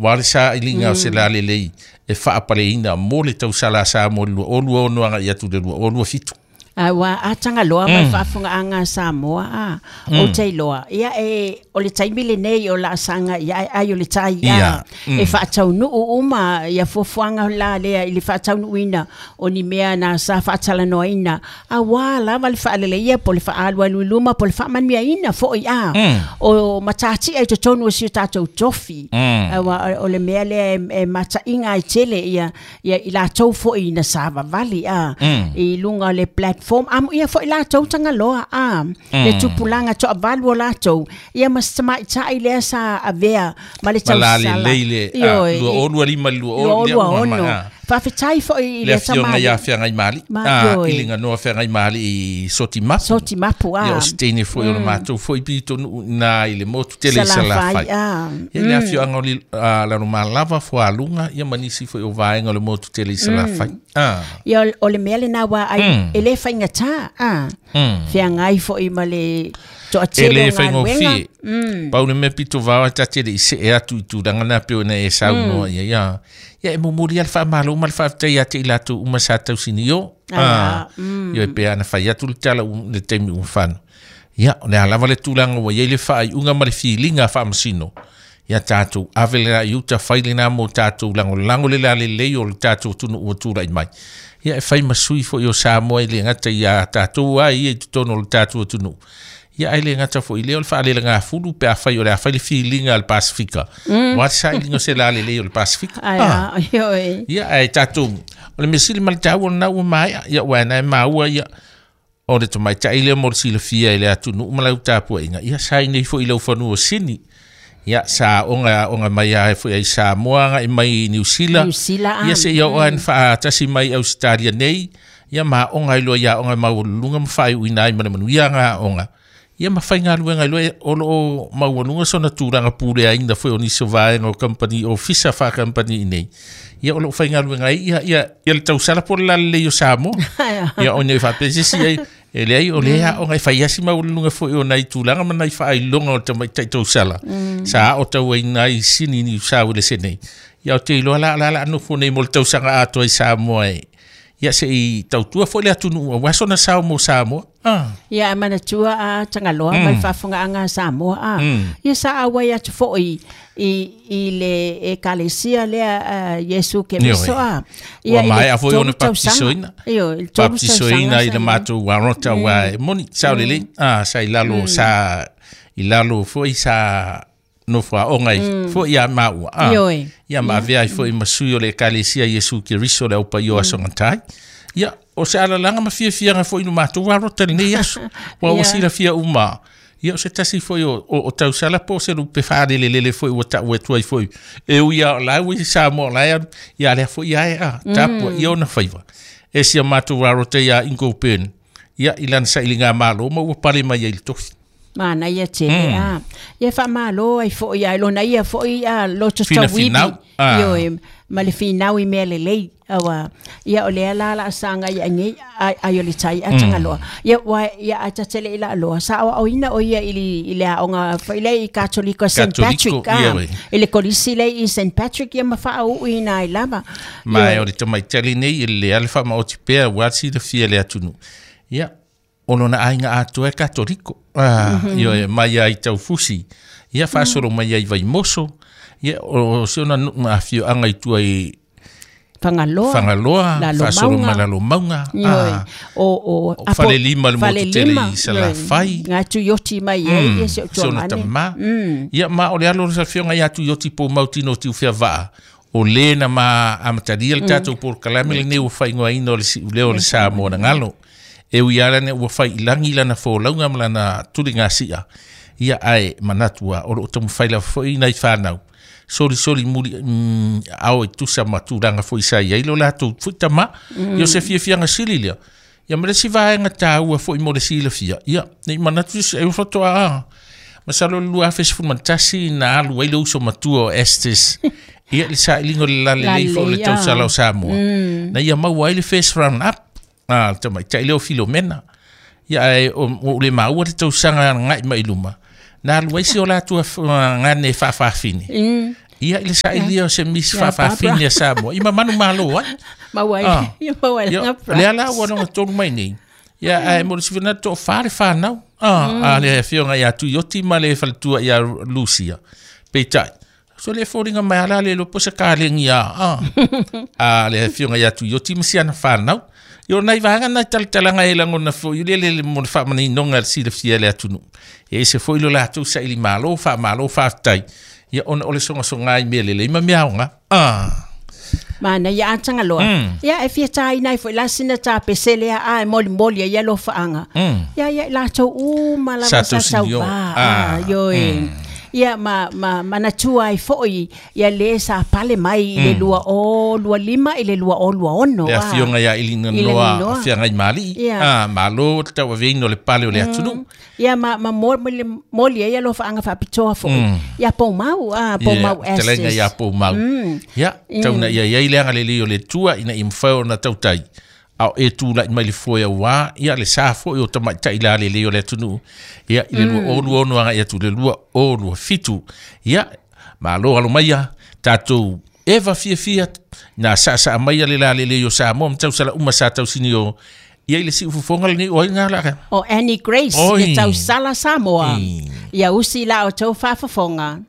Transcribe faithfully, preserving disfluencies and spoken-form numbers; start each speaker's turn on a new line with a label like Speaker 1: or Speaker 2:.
Speaker 1: Wa le sailiga o se lalelei e faapaleina mo le tausala a Samoa i le lua o lua ono agai atu i le lua o lua fitu.
Speaker 2: Aua a Tagaloa ma le faafogaaga a Samoa a ou te iloa ia e o le taimi lenei o laasaga ia ai o le tai a e faataunuu uma ia fuafuaga la lea i le faataunuuina o ni mea na sa faatalanoaina auā lava le faaleleia po o le faaalualu i luma po o le faamanuiaina foʻi a o matatia i totonu o si o tatou tofi auā o le mea lea e mataiga ai tele ia ia i latou foʻi na savavali a i luga o le platform amu ia foʻi latou Tagaloa a le tupulaga toavalu o latou ia ma se tamaitai lea sa avea ma le tausala
Speaker 1: lalelei le lua o lua lima i le lua o lua
Speaker 2: ono faafetai foʻi i
Speaker 1: le afioga ia Feagaimali i le ganoa Feagaimali i Sotimapu
Speaker 2: Sotimapu a
Speaker 1: ia o se teine foʻi o le matou foʻi pitonuu ina i le motu tele i Salafai ia le afioaga o Lalomalava Fualuga ia ma nisi foʻi o vaega o le motu tele i Salafai
Speaker 2: ia o le mea lena ua ai e le faigata a feagai foʻi ma le
Speaker 1: e le faigofie pau le mea pito vao ta te le i see atu i tulaga na pei ona e saunoa ia ia ia e momoli a le faamalo ma le faafetai ia te i latou uma sa tausinio ia e pei ana fai atu le tala le taimi ua fano ia o le a lava le tulaga ua iai le faaiuga ma le filiga faamasino ia tatou ave le i uta fai lena mo tatou lagolago le lalelei o le tatou atunuu ua tulai mai ia e fai ma sui foʻi o Samoa i le gata ia tatou ai ia i totonu o le tatou atunuu ia ai le gata foʻi lea o le faalelegafulu pe afai o le afai le filiga a le Pasifika ua le sailiga o se lalelei o le Pasifika ia ae tatou o le mea sili ma le taua lena ua maea ia ua na e maua ia o le tamaitai lea mo le silafia i le atunuu ma lau tapuaiga ia sa i nei foʻi laufanua sini ia sa onga onga mai ai foi ai Samoa agai mai Niu Sila ia se ia oa faatasi mai Ausetalia nei ia ma onga iloa ia onga maualuluga ma faaiuina ai ma le manuia aga aoga ia ma faigaluega iloa o loo maualuga sona tulaga puleaina foi o nisi o vaega o kampani ofisa faakampani i nei ia o loo faigaluega ai ia ia ia le tausala po o le lalelei o Samoa ia o nei faapea ai e leai o lea aoga e fai asi maualuluga foi o nai tulaga ma nai faailoga o le tamaitai tausala sa ao tauaina ai Sini Niu Sauelese nei ia o te iloa la la la nofo nei mo le tausaga atoa i Samoa e ia se i tautua foi le atunuu auā sona sao mo Samoa.
Speaker 2: Ia e manatua a Tagaloa ma le faafogaaga a Samoa a ia sa auai atu foʻi i i le ekalesia lea Iesu Keriso a
Speaker 1: ia ua maea foi ona baptisoina baptisoina i le matou arota ua e moni sao lelei a sa i lalo sa i lalo foi sa nofo aoga foʻi ia maua a ia ma avea ai foʻi ma sui o le ekalesia Iesu Keriso le aupaia o aso gatai ia o se alalaga ma fiafiaga foʻi no matou arota lenei aso ua ua silafia uma ia o se tasi foʻi o o tausala po o se lupe faalelelele foʻi ua taʻu atu ai foʻi e ui a o la ua i Samoa o la e ia lea foʻi ae a tapua ia ona faiva e sia matou arota ia Ingo Byrne ia i lana sailiga malo ma ua pale mai ai le tofi
Speaker 2: manaia tele a ia faamalo ai foʻi ai lona ia foʻi a loto tauivi ioe ma le finau i mea lelei aua ia o lea la laasaga ia agei ai o le tai a Tagaloa ia ua ia a tatele i laaloa sa aoaoina o ia i le aoga foʻi lea i Katoliko Saint Patrick a i le kolisi lea i Saint Patrick ia ma faauuina ai lava
Speaker 1: ma e o le tamaitali nei i le ale faamaoti pea ua silafia le atunuu ia o lona aiga atoa e Katoliko ah ioe mai ai taufusi ia faasolo mai ai Vaimoso ia o se ona nuu ma afioaga i tua i
Speaker 2: Fagaloa
Speaker 1: Fagaloa faasolo mai Lalomauga
Speaker 2: o o
Speaker 1: Falelima le motu tele i Salafai
Speaker 2: ga Tuioti mai ai ia se o tuamane
Speaker 1: ia ma o le alo o le afioga ia Tuioti po Mautino Tiufeavaa o lē na ma amatalia le tatou polokalame lenei ua faaigoaina o le siuleo o le Samoa na galo e ui ala ne ua fai i lagi lana folauga ma lana tuligasia ia ae manatu a o loo taumafai lava foʻi nai fanau solisoli muli ao e tusa ma tulaga foʻi sa iai lo latou foʻi tamā ia o se fiafiaga sili lea ia ma le isi vaega taua foʻi mo le silafia ia nei manatu e ua masalo le lua afe sefulu ma le tasi na alu ai le uso matua o Estes ia le sailiga o le lalelei foʻi o le tausala o Samoa na ia maua ai le first round up a le tamaitai lea o Filomena ia ae o le maua le tausaga agai mai luma na alu ai si o latou gane faafafine Ia i le sailia o se misi faafafine a Samoa. I mamanu malo ai.
Speaker 2: Maua
Speaker 1: Ah.
Speaker 2: ia maua
Speaker 1: Ia,
Speaker 2: langa
Speaker 1: lea la ua longa tolu mai nei. Ia, ae mo le silafia na toafa le fanau. Ah, a le afioga ia Tuioti ma le faletua ia Lucia. Peitai, so le foliga mai ala le lo po se kalegi a. Ah. A le afioga ia Tuioti ma siana fanau. Ia o nai vaega nai talatalaga e lagona foi le le le mo le faamaninoga le silafia le atunuu. E ese foi lo latou saili malo, faamalo faafetai. Ia ona o le sogasoga i mea lelei ma mea aoga. Ah.
Speaker 2: Mana ia atanga loa.
Speaker 1: Mm.
Speaker 2: Ia e fia tai nai foi la sina ta pesele a e moli moli ia lo faanga.
Speaker 1: Mm.
Speaker 2: Ia ia la tau u ma la
Speaker 1: Sa
Speaker 2: sa
Speaker 1: tau
Speaker 2: tau
Speaker 1: sinio.
Speaker 2: ba.
Speaker 1: Ah,
Speaker 2: Ah, yo e. Ia ma ma manatua ai foi ia le sa pale mai i le lua o lua lima i le lua o lua ono.
Speaker 1: Le
Speaker 2: ah.
Speaker 1: afioga ia Ilina
Speaker 2: I le
Speaker 1: Noa
Speaker 2: Noa.
Speaker 1: afioga i Mali.
Speaker 2: Ia.
Speaker 1: Ah, malo le tauaveina o le pale o le atunuu.
Speaker 2: Ia ma ma moli moli ia lo faanga faapitoa foi. Ia Poumau ah Poumau
Speaker 1: Ia, talaga
Speaker 2: Estes.
Speaker 1: ia Poumau. Ia, tauna ia iai le agalelei o le Atua ina ia mafai ona tautai. A o e tula'i mai le foe auā, ia le sa foi o tamaitai lalelei o le atunuu. Ia, i le lua o lua ono aga'i atu i le lua o lua fitu. Ia, malo alo maia, tatou eva fiafia, na saasaa maia le lalelei o Samoa ma tausala uma sa tausini o, ia i le siufofoga lenei o ai gā laka.
Speaker 2: O Annie Grace
Speaker 1: Oi.
Speaker 2: le tausala Samoa.
Speaker 1: Mm.
Speaker 2: Ia usi la o tau faafofoga.